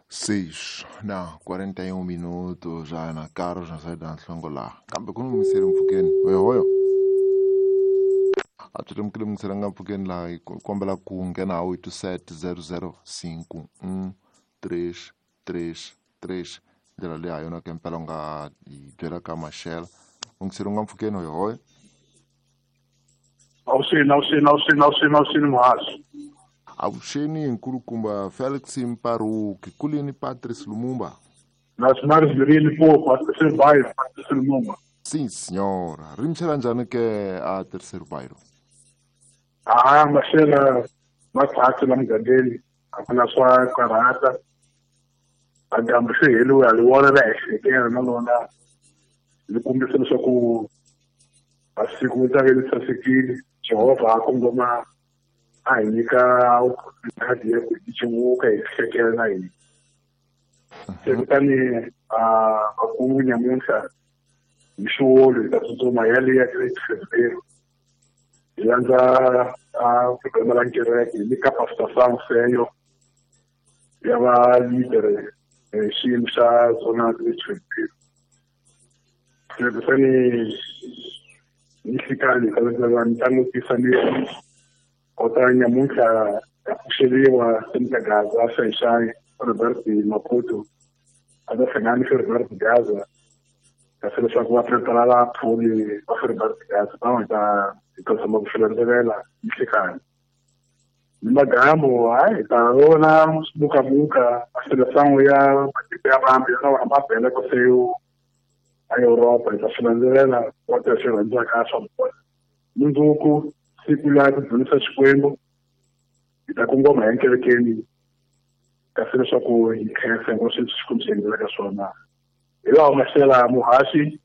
6 na 41 minutos já na Carlos na saída na Hlongola kambe ku ni mungiseri mpfhukeni hoyohoyo a byi lemukile mungiseri nga mpfhukeni laha hi kombela ku nghena ha 87 00 5 1 3 3 3 ndlela leyi ha yona ke mpela u nga hi byela ka maxela mungiseri nga mpfhukeni hoyohoyo. Avuxeni, avuxeni, avuxeni, avuxeni, avuxeni muhaxi. Avuxeni nkulukumba Felix Mparuki kulini Patrice Lumumba. Nacionais de Limpopo, terceiro bairro, Patrice Lumumba. Sim, senhora. Ri mixela njhani ke a terceiro bairro? Ah, maxela ma kahle la mugangeni, a ku na swa karhata. A dyambu se heliwe a li vona ra hi na lona li kombisa leswaku masiku ta ve li sasekile. Jehovha a kongoma a hi nyika opportunity ya ku hi civuka hi hlekela na hina. Se kutani a makungu nyamuntlha hi xiwolo hi ta tsutsuma hi ya le ya fevereiro hi landza a programa la kereke hi le ka Pastor Sam Feyo ya va leader xiyimo xa zona fevereiro. Se kutani ni nhlikani hi ta ni langutisa ni kota nyamuntlha ya pfuxeliwa Senator Gaza Xaixai Robert Maputo a ta hlangana ni Robert Gaza kasi leswaku va prepara vaphuli va Robert Gaza va nga ta hi ta tshama ku swi landzelela nhlikani ni magambo hayi ta vona mukamuka a seleção ya matiko ya vambe ya lawa ma bela ku se a Europa hi ta swi landzelela wa ta swi rhandzaka swa vona. Mundzuku siku la ku dzunisa Xikwembu hi ta kongoma hi kerekeni kasi leswaku hi khensa hinkwaswo leswi Xikwembu xi endlelaka swona. Hi lawa maxela muhaxi.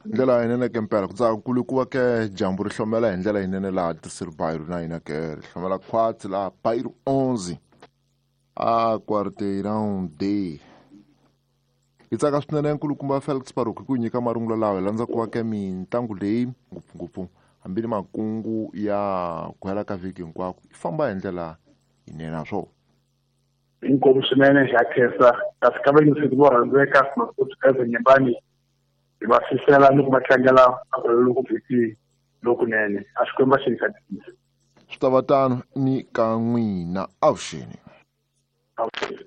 Ndlela yinene ke mpela ku tsaka kulu ku va ke dyambu ri hlomela hi ndlela yinene laha terceiro bairro na hina ke ri hlomela khwatsi laha bairro 11 a quarteirão D. Hi tsaka swinene nkulukumba Felix Baruch ku nyika marungulo lawa hi landza ku va ke mitlangu leyi ngopfungopfu hambi ni makungu ya ku hela ka vhiki hinkwako yi famba hi ndlela yinene naswona. Inkomu swinene hi ya khensa kasi ka vayingiseri vo rhandzeka Maputo ka Nyembani hi va fisela ni ku va tlangela loko vhiki lokunene a Xikwembu a xi hi katekisa. Swi ta va tano ni ka n'wina avuxeni. Avuxeni.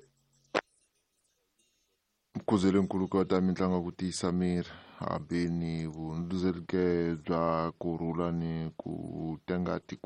Mkhuzeli nkulukumba ta mitlangu ku tiyisa miri hambi ni vundzuzeleke bya kurhula ni ku tenga tikweni.